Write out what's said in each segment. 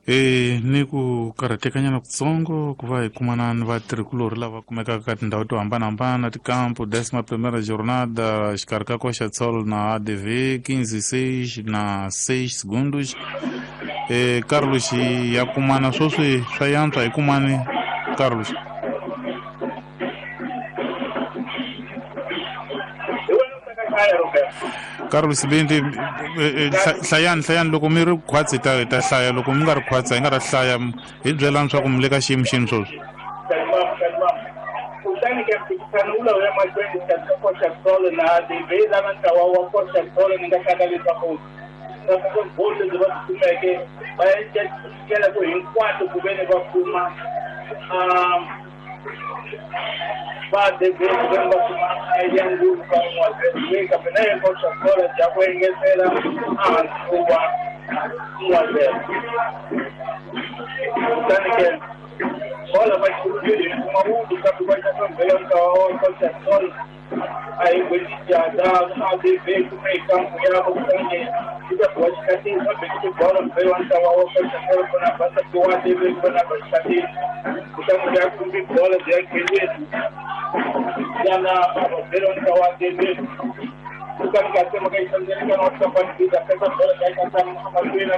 Ni ku karhatekanyana kutsongo ku va hi kumana ni vatirhikulorhi lava kumekaka ka tindhawu to hambanahambana tikampu décima primeira jornada xikarhi ka Coxa Sol na ADV 15 na 6 segundos. Carlos ya kumana sweswi swa yantswa hi kumani Carlos. Carlos Sibindi hlayani loko mi ri khwatsi hi ta hlaya loko mi nga ri khwatsi hi nga ta hlaya hi byelani swa ku mi le ka xiyimo xini sweswi. Kutani ke mphikizano wu lawa ya mahlweni xikarhi ka Coxa Sol na ADV lava ntlawa wa Coxa Sol ni nga hlaka leswaku bolo lebyi va byi kumeke va endlela ku hinkwato ku ve ni va kuma va ADV ku ve ni va kuma ya ngulu ka 1-0 kambe na yena Coxa Sol ya ku engetela ehansi ko va 1-0. Kutani ke bola va xivili mawudu kambe va xaxambela ntlawa wa Coxa Sol a hi gwetijada ADV kume kampu yavo kutani yi ta biwa xikatini va bekile bolo mbele wa ntlawa wa Coxa Sol kona va wa ADV kona ba xikatini kutani ya kumbi bola bya kheleni yana vabele wa ntlawa wa ADV kutani ka tsema ka yisandzelekana wa tlapani bida pesa bola ya ka mahlweni a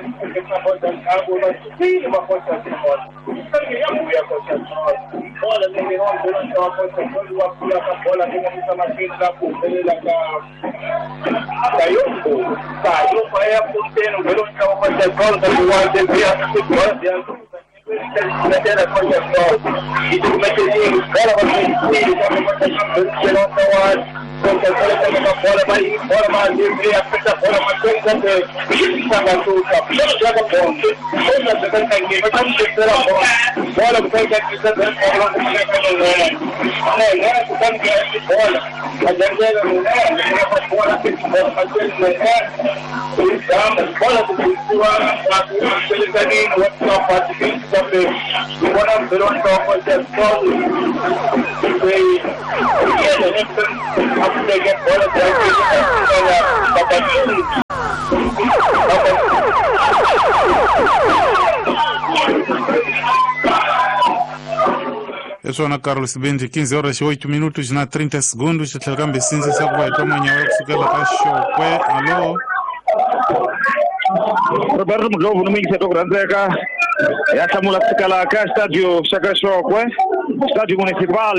na bola ndzhaku va sukile va Coxa Sol kutani ya vuya Coxa Sol bola leyi wa mbele wa ntlawa wa Coxa Sol wa pfula ka bola leyi nga yisa mahlweni la ku humelela ka Kayombo Kayombo ya punteni mbele wa ntlawa wa Coxa Sol kambe wa ADV a bola ya mettere Coxa Sol i bola va Coxa Sol teka bola va yi bola va ADV a feta bola mahlweni kambe sanga suka bola bya ka bonde bola bya ka ntangeni va ta mi tekela bola bola kutani ka tisa bola ku fika nene kutani ka bola a jangela nene bola bola mahlweni nene i bola ku bisiwa ku selekanini wa tlapati kambe ni vona mbele wa ntlawa wa Coxa Sol leyi yena a pfuleke bola bya Babatini. Hi swona Carlos Sibindi 15 horas 8 minutos na 30 segundos tlhela kambe sindzisa ku va hi twa manyawa kusukela ka Xokwe. Alo Roberto Mudlovu ni muyingiseri ku rhandzeka ya hlamula kusukela ka xitadio xa ka Xokwe Stadio Municipal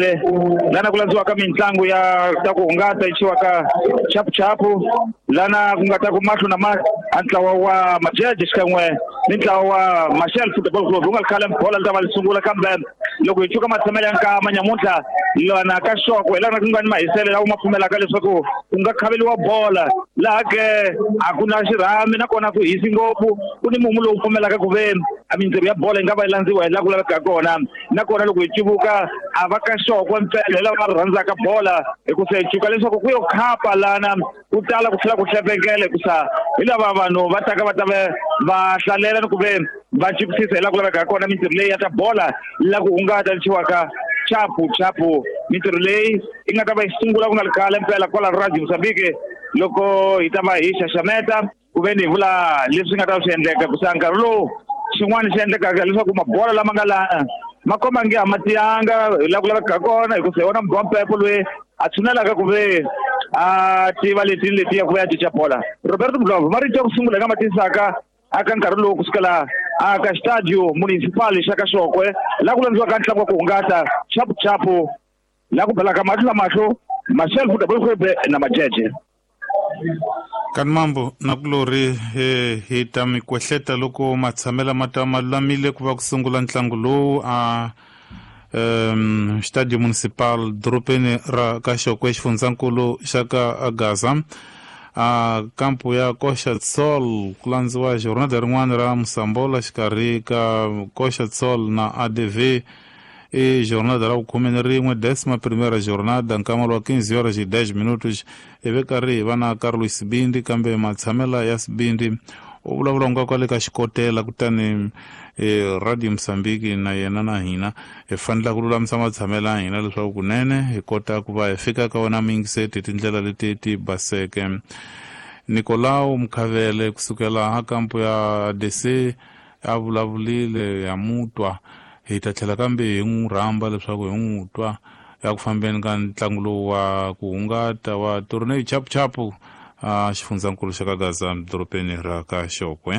lana ku landziwaka mitlangu ya ta ku hungata yi ka chapuchapu lana ku nga ta ku mahlo na mahlo a ntlawa wa Majeje xikan'we ni ntlawa wa Machel Football Club wu nga ri khale bola li ta va li sungula kambe loko hi cuka matshamelo ya nkama nyamuntlha lana ka Xokwe lana ku nga ni mahiselo lawa ma pfumelaka leswaku ku nga khaveliwa bola laha ke a ku na xirhami nakona ku hisi ngopfu ku ni mumu lowu pfumelaka ku ve a mintirho ya bola yi nga va yi landziwa hi laha ku lavekaka kona nakona loko hi cuvuka a va ka Xokwe mpela hi lava va rhandzaka bola hi ku se cuka leswaku ku yo khapa lana ku tala ku tlhela ku hlepekela hikusa hi lava vanhu va taka va ta va hlalela ni ku ve va chipisisa hi laha ku lavekaka kona mintirho leyi ya ta bola la ku hungata lexi chapu chapu mintirho leyi yi nga ta va yi sungula ku nga ri khale mpela kwala Radio Mozambique loko hi ta va hi xaxameta ku ve ni hi vula leswi nga ta swi endleka kusa nkarhi lowu xin'wana xi endlekaka leswaku mabola lama nga laha ma komba nge a ma tiyanga hi laha ku lavekaka kona hikusa hi wona mugwa mpepo loyi a tshunelaka ku ve a tiva leti ni letiya ku va ya cinca bola. Roberto Mudlovu marito ya ku sungula hi nga ma tisaka aka nkarhi lowu kusukela aka Stadio Municipal xa ka Xokwe laha ku landziwaka ntlangu wa ku hungata chapuchapu laha ku belaka mahlo na mahlo Machel Football Club na Majeje. Kani mambo nakulorhi hi ta mi kwehleta loko matshamelo ma ta ma lulamile ku va ku sungula ntlangu lowu a Stadio Municipal dorobeni ra ka Xokwe xifundzankulu xa ka Gaza a kampu ya Coxa Sol ku landziwa jornada rin'wana ra Mosambola xikarhi ka Coxa Sol na ADV i jornada ra vukhume ni rin'we décima primeira jornada nkama wa 15 horas e 10 minutos ivi karhi hi va na Carlos Sibindi kambe matshamela ya Sibindi u vulavula nga kwale ka xikotela kutani Radio Mozambique na yena na hina hi fanele ku lulamisa matshamela ya hina leswaku kunene hi kota ku va hi fika ka wena muyingiseti hi tindlela leti ti baseke. Nicolau Mkhavele kusukela ha kampu ya DC A vulavulile ya mutwa, hi ta tlhela kambe hi n'wi rhamba leswaku hi n'wi twa ya ku fambeni ka ntlangu lowu wa ku hungata wa Torneo Chapuchapu a xifundzankulu xa ka Gaza, dorobeni ra ka Xokwe.